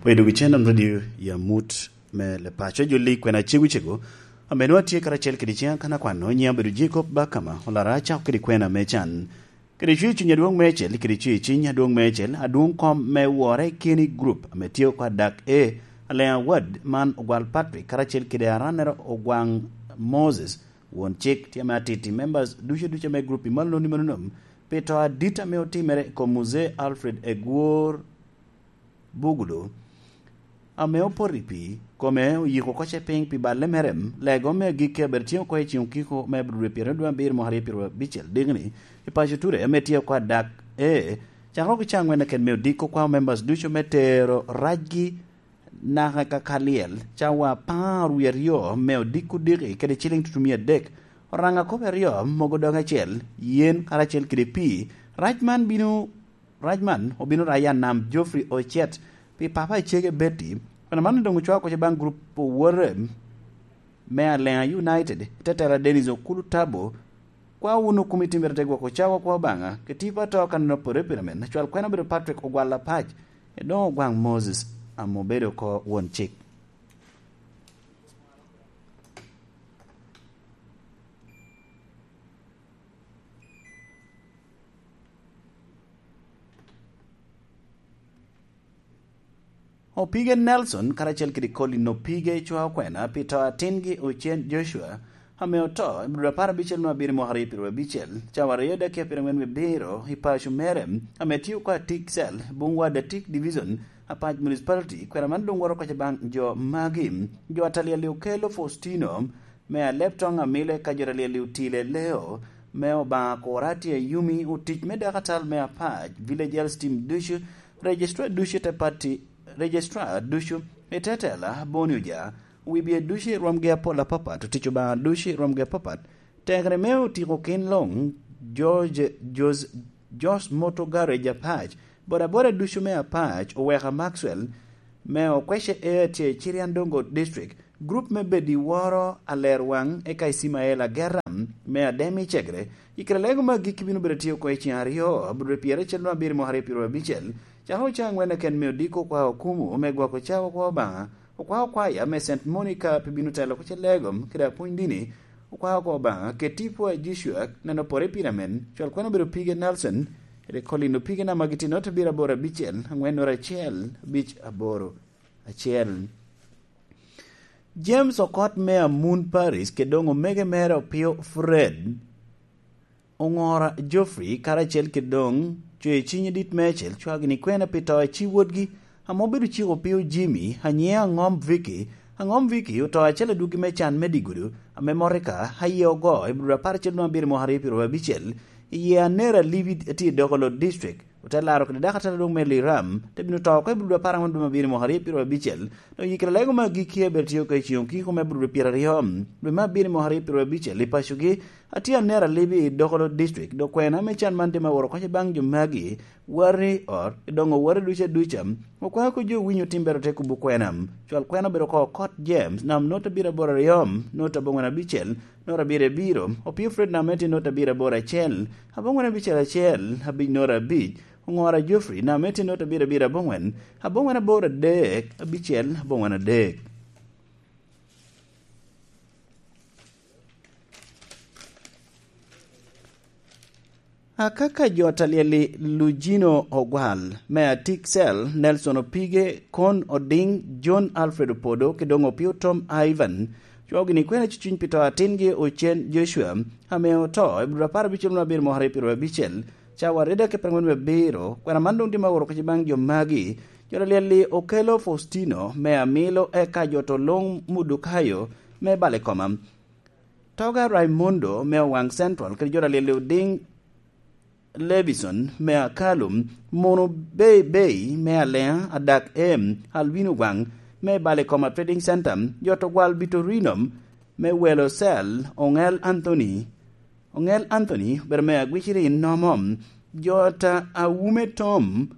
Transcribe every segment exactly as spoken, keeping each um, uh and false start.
Pwod idwogo i Channel Radio i amut me Lepaco. Joli kwena cegocego, ame nwoŋo atye karacel kede ciŋa kan akwano, nyiŋa obedo Jacob Bakama, olara acako kede kwena me can. Kede cwer cuny adwoŋ meicel, kede cwer cuny adwoŋ meicel, adwoŋ kom me wore keni group ame tye oko adak A, Alea Ward man Ogwal Patrick, karacel kede aranere Ogwaŋ Moses, won cik, tye ame atiti members ducu ducu ame group i malo noni manonom, pi to adit ame otimere i kom Muzee Alfred Egwor Bugudu, ame opoto i pii, kome oyiko oko ce piny pi balle mere. Lego me agikki abedo tye oko i ceng okiko me Abril pyeraryo dwe abiro mwaka aryo pyeraryo abicel dikni, i paco Ture, ame tye oko adak A, cakere oko i cawa angwen keken me odiko kwao members ducu me tero racgi naka ka ka lyel, cawa apar wie aryo me odiko diki kede ciliŋ tutumia adek, oraŋa kop aryo mogo doŋ acel, yen karacel kede pii. Rac man bino Rac man obino raye Anam Geoffrey Ocet pi papa icege Betty, kwena man doŋ ocwao oko ce baŋ gurup owote me Alea United, i tetela Dennis Okulu Tabo. Kwa wunu komiti mere te gwoko cawa kwa Obaŋa, ke tipo ato kan en opore pire men, acwal kwena obedo Patrick Ogwal Apac, edoŋ Ogwaŋ Moses, ame obedo oko won cik. Opige Nelson karacel kede Colin Opige cwao kwena pi to atingi Ocen Joshua, ame oto i Abril apar abicel nwoŋo abiro mwaka aryo pyeraryo abicel, cawa aryo dakika pyerangwen wie abiro, i paco mere, ame tye oko Atik Cell, Bungwa Datik Division, Apac Municipality. Kwena man doŋ woro oko ce baŋ jo magi: jo atalyel-li Okello Faustino, me Aleptoŋ Amile, ka jo atalyel-li Otile Leo, me Obaŋa Kurati Ayumi, otic me dakatal me Apac, Village Health Team ducu, Registrar ducu i te pati, Registrar ducu i te tela, Boni Oja, wibye ducu i rwomgi apol apapat, otic Obaŋa ducu i rwomgi apapat, tekere me otiko kin luŋ, George, Jos-, Jos Moto Garage Apac, bodaboda ducu me Apac, Oweka Maxwell, me Okwece Air tye i Chiriandongo District, gurup me bedo i woro aler waŋ, eka Icimael Agera, me Ademi Cegre, i kare lego me agikki bino bedo tye oko i ceng aryo, Abril pyericel nwoŋo abiro mwaka aryo pyeraryo abicel, cakere ocaŋ angwen keken me odiko kwa okumu me gwoko cawa kwa Obaŋa, okwa okwaya me Saint Monica pi bino telo oko ce lego kede apwony dini, okwa oko Obaŋa, keti pwa Joshua neno pore pire men, cwal kwena obedo Pige Nelson, kede Colin Opige namba gitye nota abiro aboro abicel, angwen nota acel, abic aboro, acel. James Okot me Amun Paris, kede doŋ omege mere Opio Fred, Oŋora Geoffrey, karacel kede doŋ Cwer Ciny Dit Meicel, cwagi ni kwena pi to a ci wotgi, ame obedo ciko Opio Jimmy, anyiŋe Aŋom Vicky. Aŋom Vicky oto acel adwogi me can me digudu, ame motoka aye ogo i Abril apar acel nwoŋo abiro mwaka aryo pyeraryo abicel, i yee anera Libi tye i Dokolo District. Ote laro kede dako atela dwoŋ me Liram, te bino to oko i Abril apar aŋwen dwe me abiro mwaka aryo pyeraryo abicel. Doŋ yikere lego me agikki abedo tye oko i ceng okiko me Abril pyeraryo, dwe me abiro mwaka aryo pyeraryo abicel i pacogi. Atye anera Libi i Dokolo District, dok kwena me can man tye me woro oko ce baŋ jo magi, wati ot, i doŋ owote ducu aduca. Okwako jo winyo tim bero te kubo kwena. Cwal kwena obedo oko Okot James, nam nota abiro aboro aryo, nota aboŋwen abicel, nota abiro abiro, Opio Fred nam ete nota abiro aboro acel, aboŋwen abicel acel, abic nota abic, Oŋora Geoffrey nam ete nota abiro abiro aboŋwen, aboŋwen aboro adek, abicel, aboŋwen adek. Akaka jo talyel-li Lujino Ogwal, me Atik Cell, Nelson Opige, Kon Oding, John Alfred Opodo, ki doŋ Opio Tom Ivan, cwao gini kwena cucuny pi to atingi Ocen Joshua, ame oto i Abril apar abicel nwoŋo abiro mwaka aryo pyeraryo abicel, cawa aryo dakika pyerangwen wie abiro. Kwena man doŋ tye ma oworo oko ce baŋ jo magi: jo talyel-li Okello Faustino, me Amilo, eka jo to luŋ Mudukayo, me Balikoma. Toga Raimundo me Owaŋ Central, kede jo talyel Oding Levison me Akalum, Mono Bei Bei me Alea, Adak Em, Alwin Owaŋ me Balikoma Trading Center, jo to gwal Bitorino me Welo Cell, Oŋel Anthony, Oŋel Anthony, obedo me Agwiciri Nomo, jo ta Awume Tom,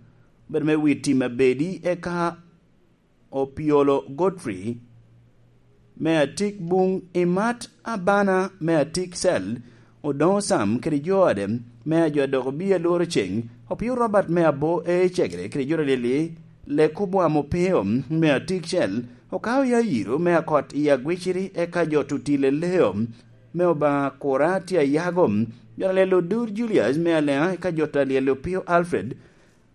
obedo me Witi Mabedi, eka Opiolo Godfrey, me Atik Buŋ, Imat Abana, me Atik Cell, Odoŋo Sam kede jo ode, me ajo adoko bia lworo ceŋ, Opio Robert me Abo Ecegere kede jo talyel-li, Lekobwam Opeo me Atikcel, Okao Yayiro me Akot i Agwiciri, eka jo Tutile Leo me Obaŋa Kura tye Ayago, jo Alyel Odur Julius me Aleŋa, eka jo Alyel Opio Alfred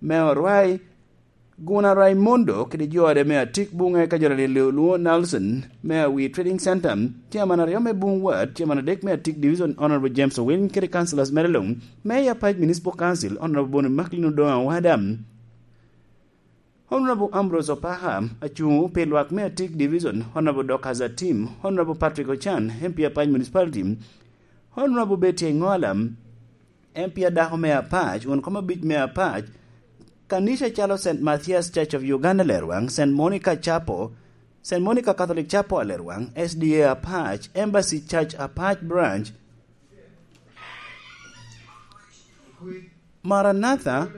me Orwai, Guna Raimondo kede jo ode me Atik Buŋe, eka jo Alyel Olwoŋo Nelson me Awi Trading Center, Chairman aryo me Buŋ Ward, Chairman adek me Atik Division, Honorable James Owiny, kede Councillors mere luŋ, Mayor Apac Municipal Council, Honorable Boni Macklin Odongo Awada. Honorable Ambrose Opaha, acuŋ pi lwak me Atik Division, Honorable Dorcas Atim, Honorable Patrick Ochan, M P Apac Municipality, Honorable Betty Engola, M P adako me Apac, won kom abic me Apac, kanica calo Saint Matthias Church of Uganda Lerwaŋ, Saint Monica Chapel, Saint Monica Catholic Chapel Lerwaŋ, S D A Apac, Embassy Church Apac Branch, Maranatha,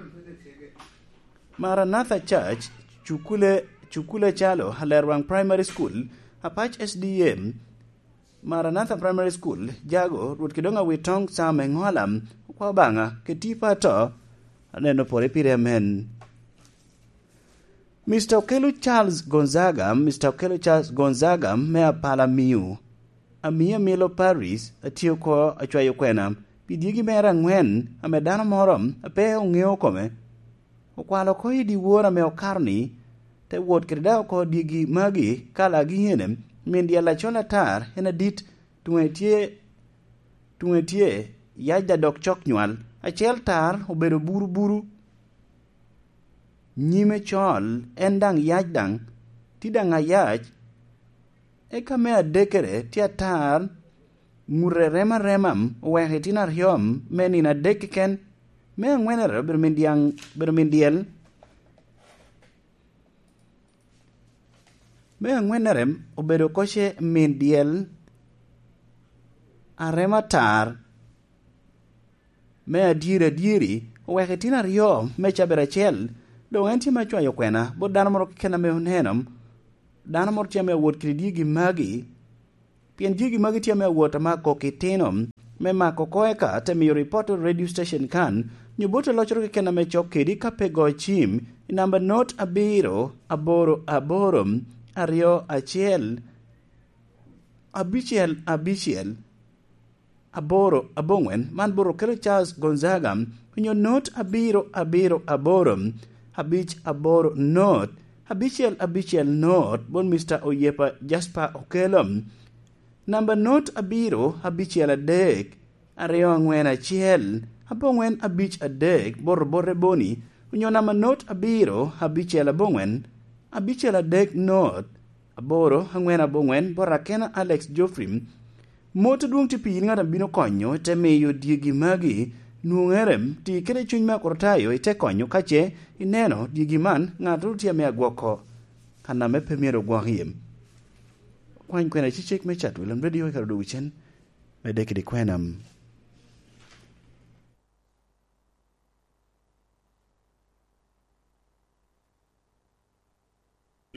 Maranatha Church, Cukule, Cukule Calo, Alerwaŋ Primary School, Apac S D A, Maranatha Primary School, Jago, Rwot Kidongo Awitoŋ Sam Eŋola, okwa Obaŋa, keti pa to, aneno pore pire amen. Mister Okello Charles Gonzaga, Mister Okello Charles Gonzaga me Apala Miu, Amio Amilo Paris, atye oko acwayo kwena pi dyegi mere aŋwen ame dano moro a pe oŋeo kome okwalo oko i dyewor ame okato-ni, te wot kede daŋ oko dyegi magi ka lagi ene, min dyel acol atar en adit, tuŋe tye, tuŋe tye, yacda dok cok nywal, acel tar obedo buruburu, nyime col, en daŋ yac daŋ, tye daŋ ayac. Eka me adekkere tye atar, ŋute rem arema, oweko itino aryo me nino adek keken, me aŋwennere obedo min dyaŋ, obedo min dyel, me aŋwennere obedo koce min dyel arema atar. Me adyeri adyeri, oweko itino aryo me cabit acel, doŋ en tye me cwayo kwena bot dano moro keken ame oneno, dano moro tye ame awot kede dyegi magi, pien dyegi magi tye ame awot ame akok itino, me mako oko eka te miyo ripot i radio station kan, nyo bot aloccoro keken ame cok kedi ka pe go cim i namba not abiro aboro aboro aryo acel abicel abicel aboro aboŋwen, man bot Okello Charles Gonzaga, onyo not abiro abiro aboro, abic aboro not, abicel abicel not, bot Mister Oyepa Jasper Okello. Namba not abiro abicel adek, aryo aŋwen acel, aboŋwen abic adek, bot Obote Boni, onyo namba not abiro abicel aboŋwen, abicel adek not, aboro aŋwen aboŋwen, bot Akena Alex Geoffrey. Mot adwoŋ tye pi yin ŋat a bino konyo, te miyo dyegi magi nwoŋere, ti kede cuny me Akricitayo, ite konyo ka ce ineno dyegi man, ŋattoro tye ame agwoko kan ame pe myero ogwok iye. Kwany kwena cecek me Chatwell Radio i kare odwogo cen, medde kede kwena.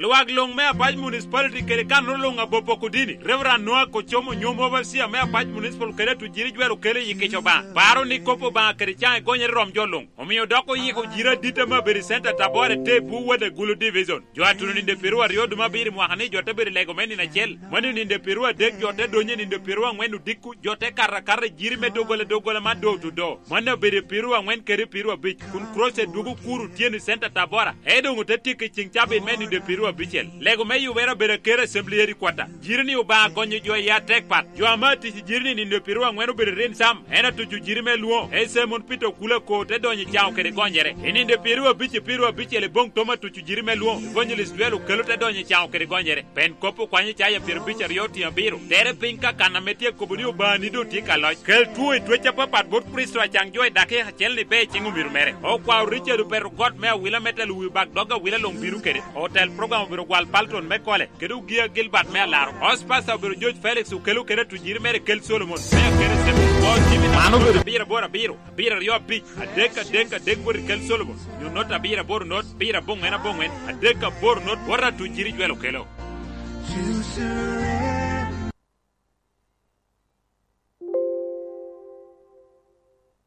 Lwak luŋ me Apac Municipality kede kanoro luŋ Abopo Kudini, Reverend Noah Kocomo, nyom overseer me Apac Municipal kede Tujiri Jwero kelo i kica Obaŋa. Paro ni kop Obaŋa kede caŋ egonyere rom jo luŋ. Omio dok oyiko jiri adit ame abedo i Center Tabora te Buwet Agulu Division. Jo a tuno ninde piero aryo dwe me abiro i mwaka ni jo te bedo i lego me nino acel. Mano ninde piero adek jo te donyo i ninde piero aŋwen odiko, jo te kato akata i jiri me doggola doggola man door to door. Mano obedo i piero aŋwen kede piero abic, kun crusade dwogo kuro otyeno i Center Tabora, e doŋ ote tyeko i ceŋ cabit me ninde piero abicel. Lego me yubere obedo aker Assembly Headquarter. Jiri ni Obaŋa gonyo jo i atek pat. Jo ame atic i jiri ni ninde piero aŋwen obedo rin sam, en atuco jiri me lwoŋo, e Simon Peter Okula ko te donyo i caŋo kede gonyere. I ninde piero abic i piero abicel i boŋ tom atuco jiri me lwoŋo, Evangelist Joel Okello te donyo i caŋo kede gonyere. Pen kop okwanyo caya pyero abic aryo otiŋo abiro. Tere piny ka kan ame tye kobo ni Obaŋa ni doŋ tye ka loc. Kel two i twec apapat bot Kricito acaŋ jo i dakika acel ni be i ciŋ omiro mere. Okwao Richard Opeto Got me awila me telo wi bak dog awila luŋ bino kede. Otel program obedo gwal Palton me Kole, kede Ogia Gilbert me Alaro. Host pastor obedo George Felix Okello kede atujiri mere Kel Solomon. Me akene Semo. Bot Jimmy. Mano obedo abiro aboro abiro. Abiro aryo abic, adek adek adek bot i Kel Solomon, nyo not abiro aboro not, abiro aboŋwen aboŋwen, adek aboro not, bot atujiri Jwel Okello.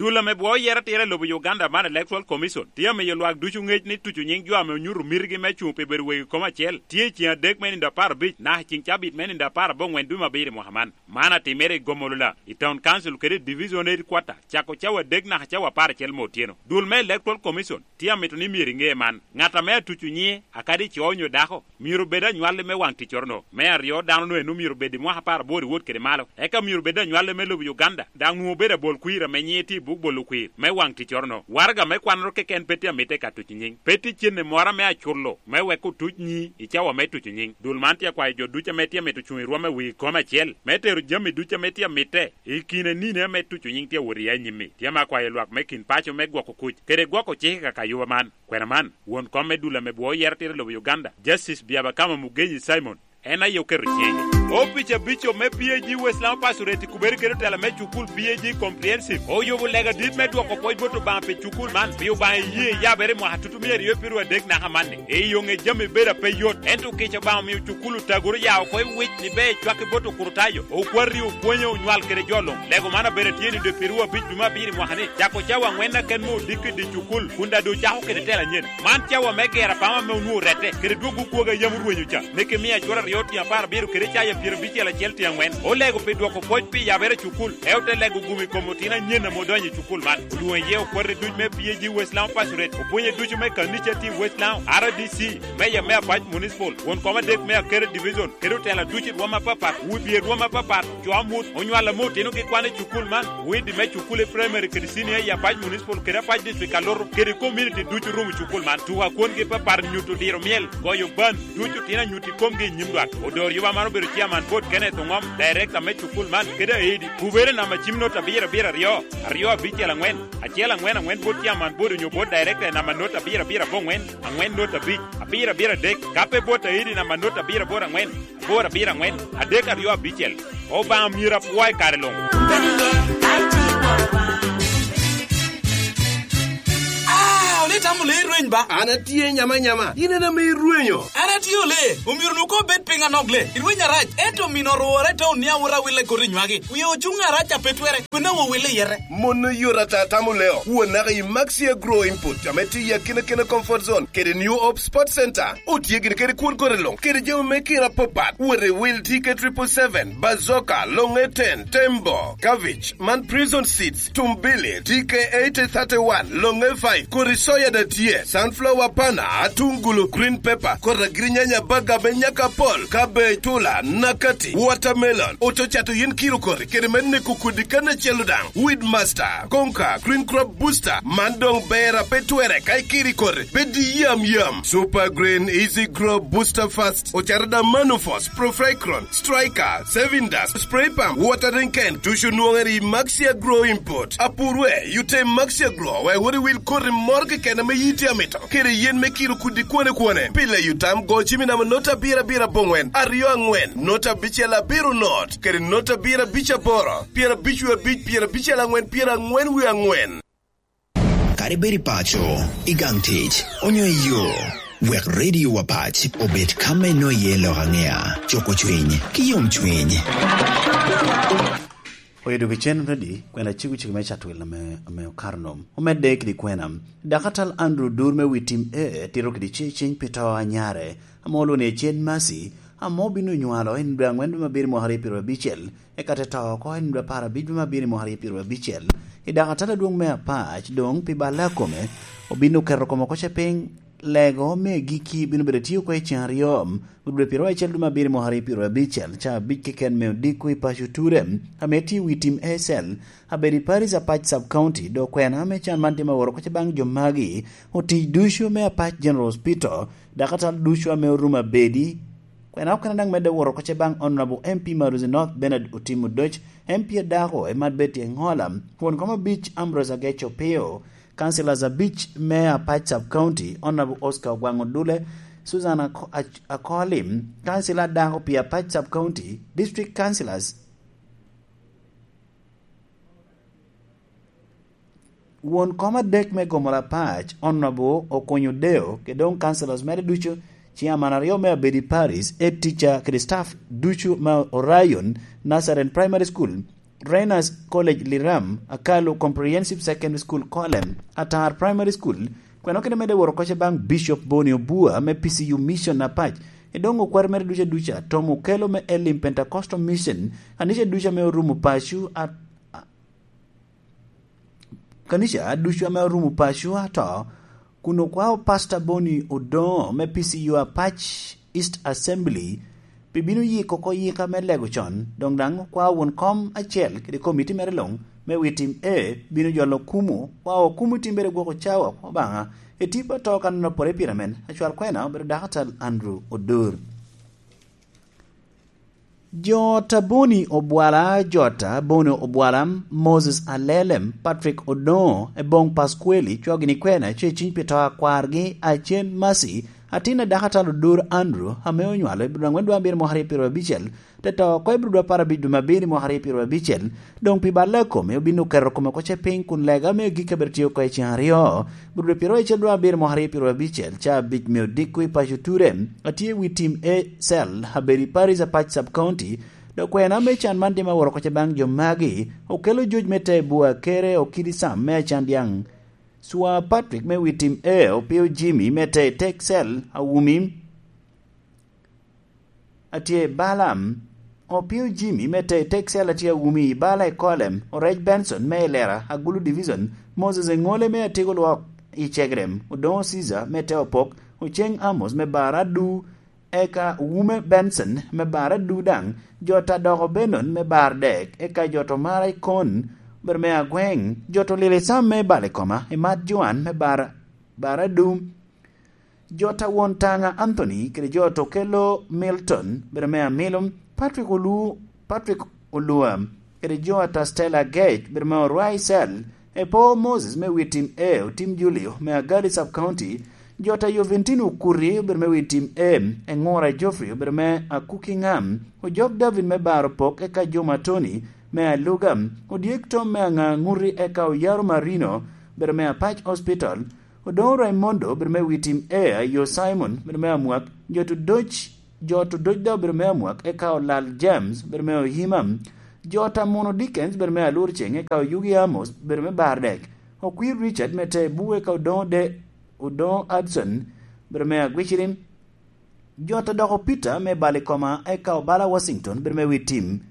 Dul ame bwoo yero atira i lobo Uganda man Electoral Commission tye amiyo lwak ducu ŋec ni tuco nyiŋ jo ame onyuto mitigi me cuŋ pi bedo wegi kom acel tye i ceŋ adek me nindo apar abic naka i ceŋ cabit me nindo apar aboŋwen dwe me abiro i mwaka man. Man atimere i Gomolola, i Town Council kede i Division Headquarter, cako cawa adek naka cawa apar acel me otyeno. Dul me Electoral Commission tye amito ni myero iŋe man. Ŋat ame atuco nyiŋe, akadi co onyo dako, myero obed anywalli me waŋ ticcoro-no. Me aryo, dano-nu eno myero obed i mwaka apar aboro i wot kede malo, eka myero obed anywalli me lobo Uganda, daŋ nwoŋo obedo abol kwir ame nyiŋe tye i buk bolo kwir me waŋ ticcoro-no. Waraga me kwannoro keken pe tye amitte ka tuco nyiŋ. Pe tye cente moro ame aculo me wek otuc nyiŋ i cawa me tuco nyiŋ. Dul man tye akwayo jo ducu ame tye amito cuŋ i rwom i wi kom acel me tero jami ducu ame tye amitte i kin anini ame tuco nyiŋ tye awot iye anyim-mi. Tye ame akwayo lwak me kin paco me gwoko kuc kede gwoko cik i kakayuba man. Kwena man, won kom me dul ame bwoo yero tira i lobo Uganda, Justice Byabakama Mugenyi Simon, en aye oketo ciŋe. Opic abico me P A G West Lamu Pastorate i kubere kede otela me cukul P A G Comprehensive oyubo lega dit me dwoko pwoc bot Obaŋa pi cukul man, pi Obaŋa iyee yabere i mwaka tutumia aryo i piru adek naka manni. I yo ŋe jami bedo ape yot, ento kica Obaŋa omio cukul otagoro ya oko i wic ni ber ecwak i bot okurutayo, okwati, opwonye, onywal kede jo luŋ. Lego man abedo atye ni dwe piru abic dwe me abiro i mwaka ni, cako cawa aŋwen aken me odiko i dye cukul, kun daŋ doŋ ocako kede tela anyen. Man cawa me gero apama ame onwoŋo orette, kede dwogo kwogo a yam orwenyo ca, me kemiya acwara aryo tyen apar abiro kede caya pyerabicel acel tyen aŋwen. Olego pi dwoko pwoc pi yabere cukul, e ote lego gum i kom otino anyen ame odonyo i cukul man. Olwoŋo iye okwati duc me P A G West Lamu Pastorate, opwonye ducu me kanica tye i West Lamu, R D C, meya me Apac Municipal, won kom adek me Akere Division, kede otela ducu i rwom apapat, wi bye rwom apapat, co amut, onywal ame otinogi kwan i cukul man, widi me cukul i primary kede senior i Apac Municipal kede Apac District Kaloto, kede community ducu rumo cukul man. Tuko akwongi papat nyuto diro myel, goyo ban, ducu tino anyut i komgi i nyim dwak. Odor yuba man obedo chairman board Kenneth Oŋom, director me cukul man, kede aidi. Kubere namba cim not abiro abiro aryo, aryo abicel aŋwen, acel aŋwen aŋwen board chairman board onyo board director namba not abiro abiro aboŋwen, aŋwen not abic, abiro abiro adek, ka pe board aidi namba not abiro aboro aŋwen, aboro abiro aŋwen, adek aryo abicel. Obaŋa myero apwo i kare luŋ. Ah, ole itamo le irweny ba? An atye nyama nyama, in en ame irwenyo. An atye ole, omyero nu ko bed piny anok le. Irweny arac, ento omino orwora i taun ni awot awille koti nywagi. Wie ocuŋ arac a pe twere, kwena wo wille yete. Mon oyot ata tamo leo. Won naka i Maxi Agro Input, ame tye i akina kina comfort zone, kede New Hope Sports Center. Otye gin kede kwon kore luŋ, kede jami me kira apapat. Wot i wil T K triple seven, Bazooka, Longe ten, Tembo, Cabbage, man Prison Seeds, Tumbili, T K eighty thirty-one, Longe five, kodi soya da tye, sunflower pana, atungulu, green pepper, kodi agirinyanya, baga me nyaka pol, cabbage, tula, nakati, watermelon, ococato yin kiro kori, kede me neko kodi kan acel daŋ. Weedmaster, Conquer, Green Crop Booster, man doŋ ber a pe twere ka ikiri kore, bed i yam yam. Super Green, Easy Grow, Booster Fast, ocaro da Manufos, Profricron, Striker, Saving Dust, Spray Pump, Watering Can, ducu nwoŋere i Maxi Agro Import. Apurwe, yute Maxi Agro, wek wot iwil koti moro keken ame yiti amito. Kede yen me kiro kudi kwane kwane. Pile yutam go cimi namba not abiro abiro aboŋwen, aryo aŋwen, not abicel abiro not, kede not abiro abic aboro, pyerabic wie abic, pyerabicel aŋwen, pyeraŋwen wie aŋwen. Kadi bed i paco, i gang tic, onyo i yo, wek Radio Wapac obed ka me nwoŋo iye lok aŋea, cuko cwiny, ki yom cwiny. Oyo dok icen ready, kwena cego cego me Catwil ame, ame okato nom. Omedde kede kwena. Dakatal Andrew Dur me wi tim A tito kede ce ceny pi to a nyare, ame olwoŋo ni Ecen Mercy, ame obino nywalo en dwe aŋwen dwe me abiro mwaka aryo pyerabicel, eka te to oko en dwe apar abic dwe me abiro mwaka aryo pyerabicel. I dakatal adwoŋ me Apac doŋ pi balle akome, obino keto kome oko ce piny, lego me giki bino bedo tye oko i ceŋ aryo, Gudwe pyeraryo acel dwe me abiro mwaka aryo pyeraryo abicel, ca abic keken me odiko i paco Ture, ame tye i wi tim A C L, abedo i Paris Apac Sub County, dok kwena me can man tye me woro kocce baŋ jo magi, otic ducu me Apac General Hospital, dakatal ducu ame orumo abedi. Kwena okene daŋ medde woro kocce baŋ Honorable M P Maruzi North Bernard Otim Odoc, M P adako Emmanuel Betty Engola, won kom abic Ambrose Agech Opio, Councillors abic me Apac Sub County, Honorable Oscar Ogwang Odule, Susan Ako-, Ach-, Akoli, Councillor adako pi Apac Sub County, District Councillors, won kom adek me Gomola Apac, Honorable Okonyo Deo, kede doŋ Councillors mere ducu, Chairman aryo me Abedi Parish, Head Teacher kede staff ducu me Orion Nazarene Primary School, Renas College Liram, Akalu Comprehensive Secondary School Kolem, Atar Primary School, kweno kede medde woro koce baŋ Bishop Boni Obua me P C U Mission Apac, i doŋ okwar mere duca duca, tom okelo me Elim Pentecostal Mission, kanica duca me orumo pacu a, a, kanica ducu ame orumo pacu ato, kun okwao Pastor Boni Odoŋo me P C U Apac East Assembly pi bino yiko oko yika me lego con, doŋ daŋ okwao won kom acel kede komiti mere luŋ me wi tim A bino jolo okumu, kwao okumu timbere gwoko cawa Obaŋa, i tipo ato kan onopore pire men, acwal kwena obedo Daktar Andrew Odur. Jo Taboni Obwala, Jota Boni Obwala, Moses Alelem, Patrick Odoŋo, Ebong Paskweli, cwagini kwena, ce ciny pi to akwargi, Acen Masi, atin a Dakatalo Dur Andrew, ame onywalo i Budwangwen dwe abiro mwaka aryo pyero abicel, te to oko i Budwa apar abic dwe me abiro mwaka aryo pyero abicel, doŋ pi balle a kome obin oketo kome oko ce piny kun lega me agikki abiro tye oko i ceŋ aryo. Budwa pyero acel dwe abiro mwaka aryo pyero abicel, ca abic me odiko i paco Ture, atye i wi tim A cell, abedo i Paris Apac Sub County, dok kwena me can man dim aworo koca baŋ jo magi, okelo joc me te bua kere okidi sam me acan dyaŋ. Swa Patrick me wi tim A, opio Jimmy me te tek cell, awumi, atye i Balam, opio Jimmy me te tek cell atye awumi i Bala i Kolem, Orec Benson me i Lera, Agulu Division, Moses Eŋole me Atego Lwok i Cegrem, Odoŋo Caesar me te Opok, Oceng Amos me Bar Adu, eka Wume Benson me Bar Adu daŋ, jo ta doko Benon me Bar Dek, eka jo to Mara i Kon, ber me Agweng, jo to Lili Sam me Bal i Koma, i Mat Joan me Bar, Bar Adu, jo ta Won Taŋa Anthony, kede jo to Kelo Milton, ber me Amilo, Patrick Olu, Patrick Olua, kede jo ta Stella Gage, ber me Orwai Cell, Epo Moses me wi tim A, Otim Julio me Agali Sub County, jo ta Joventino Okuri, ber me wi tim A, Eŋora Geoffrey, ber me Akuki Ŋam, Ojok David me Baro Pok, eka jo ma Tony me Aluga, Odyek Tom me Aŋa Ŋuti, eka Oyaro Marino, ber me Apac Hospital, Odoŋo Raimondo, ber me wi tim A, Ayo Simon, ber me Amwak, jo to Doc, jo to Doc da, ber me Amwak, eka Olal James, ber me Oyima, jo ta Mono Dickens, ber me Alur Ceŋ, eka Oyugi Amos, ber me Bar Dek, Okwir Richard me te Bue, eka Odoŋo De, Odoŋo Hudson, ber me Agwiciri, jo ta doko Peter me Bal i Koma, eka Obala Washington, ber me wi tim,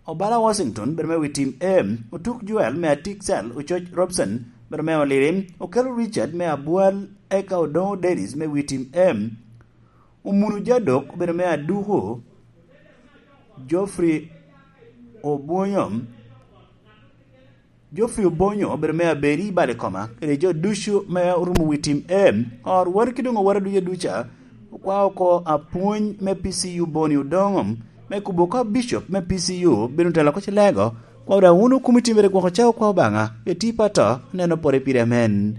Obala Washington, ber me wi tim A, Otuk Joel me Atik Cell, Ococ Robson, ber me Oliri, Okelo Richard me Abwal, eka Odoŋo Dennis me wi tim A, Omunu Jadok, ber me Aduko, Geoffrey Obonyo, Geoffrey Obonyo, ber me Aberi Bal i Koma, kede jo ducu me orumo wi tim A, or wot ki doŋ owara duca duca, okwa oko apwony me P C U Boni Odoŋo, me kubo ka Bishop me P C U bino telo oko cilego, kwa daŋ wun okumi timere gwoko cawa kwa Obaŋa, eti pato, neno pore pire amen.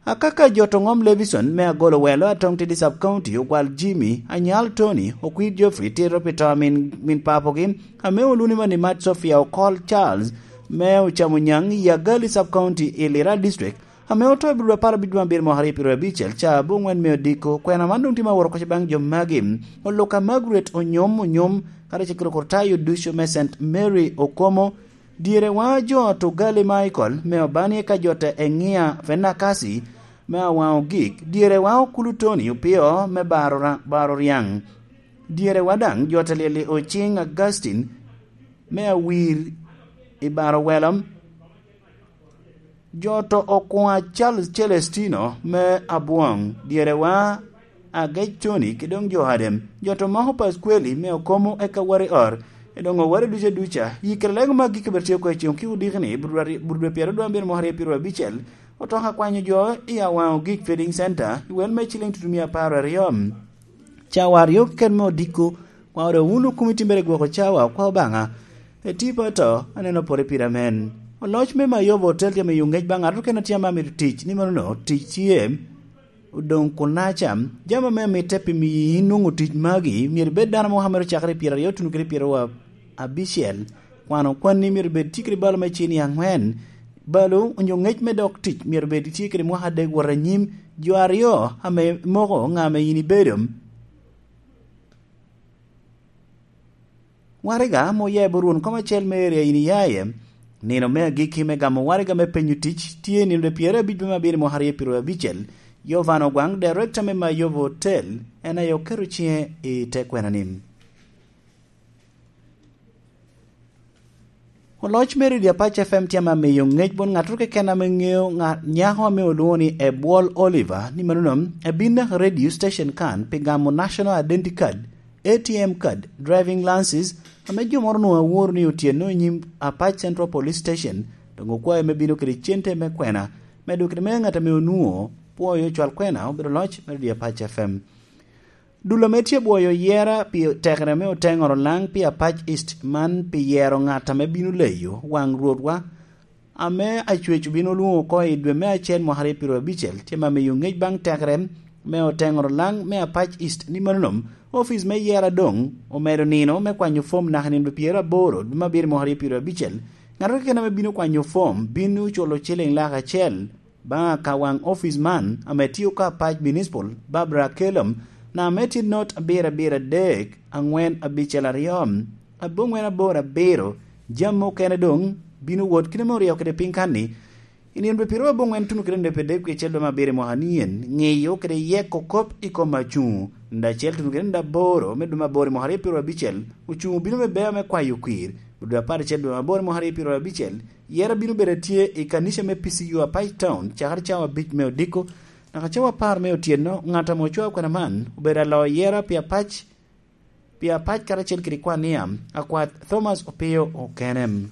Akaka jo to Ŋom Levison me Agolo Welo, Atong Tidi Sub County, Ogwal Jimmy, Anyal Tony, Okwir Geoffrey, tito pi to a min, min papogi, ame oluni mani Mat Sofia Okol Charles, me Ocamo Nyaŋ i Agali Sub County i Lira District, ame oto i Budwa apar abic dwe abiro mwaka aryo pyero abicel, ca abongwen me odiko. Kwena man doŋ tye ma woro koca baŋ jo magi. Oluka Margaret Onyom Onyom, kadi cekere Kurtayo ducu me Saint Mary Okomo, Dyere wa jo to Gali Michael me Obani, eka jo ta Eŋia Fenakasi me Awaŋ Ogik. Dyere wa Okulu Tony Opio me Baro Ra-, Baro Ryaŋ. Dyere wa daŋ jo ta Lyeli Ociŋ Augustine me Awir i Baro Welo. Jo to Okwa Charles Celestino me Abwoŋ. Dyere wa Agec Tony ki doŋ jo Adem, jo to moko Paskweli me Okomo eka Wari Or, i doŋ oware duca duca. Yi kede lego mag gik abiro tye oko i ceŋ ki odiki ni, Budwari-, Budwe pyero dwe abiro mwaka aryo pyero abicel, otoka kwanyo jo i Awaŋ Ogik Feeding Center, i wel me ciliŋ tutumia apar aryo. Cawa aryo keken me odiko, kwa ore wun okumi timere gwoko cawa, kwa Obaŋa, eti pato, aneno pore pire amen. Oloc me Mayobo otel jami yo ŋec baŋ ŋat okene tye ame amito tic, ni mano no, tic tye. Odoŋ kunaca, jami ame mitte pi miyo in nwoŋo tic magi, myero ibed dano mo ame ru cakere i pyeraryo tuno kede pyeraryo abicel, kwano kwanni myero bed tye kede balo me cini aŋwen, balo onyo ŋec me dok tic myero bed tye kede mwaka adek wot anyim, jo aryo ame moko ŋa ame in ibedo. Waraga ame oya i bot rwon kom acel me eria in iyaye. Nino me agikki me gamo waraga me penyo tic tye i nino de pyerabicel me abiro i mwaka aryo pyerabicel. Yovan Ogwaŋ, director me Mayovo Hotel, en aye oketo ciŋe i te kwena-ni. Oloc me redio Apac F M tye ame amiyo ŋec bot ŋattoro keken ame ŋeo ŋa-, nyako ame olwoŋo ni Ebwol Oliver, ni manono ebin naka radio station kan pi gamo National Identity Card, A T M card, driving license, ame jo moro onwoŋo aworo ni otyeno i nyim Apac Central Police Station, doŋ okwae me bino kede cente me kwena, medo kede me ŋat ame onwoŋo pwoyo cwal kwena obedo loc me redio Apac F M. Dul ame tye bwoyo yera pi tekere me oteŋoro laŋ pi Apac East man pi yero ŋat ame bino leyo waŋ Rwotwa ame Acwec obino lwoŋo oko i dwe me acel mwaka aryo pyerabicel, tye ma miyo ŋec baŋ tekere me oteŋoro laŋ me Apac East ni manonom, office me yera doŋ omedo nino me kwanyo fom naka nino pyeraboro dwe me abiro mwaka aryo pyerabicel. Ŋat keken ame bino kwanyo fom bino culo ciliŋ lak acel baŋ akawaŋ office man ame tio ka Apac Municipal, Barbara Kelom, naka ame tye not abiro abiro adek, aŋwen abicel aryo, aboŋwen aboro abiro. Jami okene doŋ bino wot kite ame oryo kede piny kan-ni. I nino dwe pyeraryo aboŋwen tuno kede nino dwe pyeradek wiye acel dwe me abiro i mwaka nien, ŋeyo kede yeko kop i kom acuŋ. Nino acel tuno kede nino aboro me dwe me aboro i mwaka aryo pyeraryo abicel, ocuŋ obino me bea me kwayo kwir. Dwe apar acel dwe me aboro i mwaka aryo pyeraryo abicel, yera bino bedo atye i kanica me P C U Apac Town, cakere cawa abic me odiko, naka cawa apar me otyeno, ŋat ame ocwao kwena man obedo aloyo yera pi Apac, pi Apac karacel kede kwan ni am, akwath Thomas Opio okene.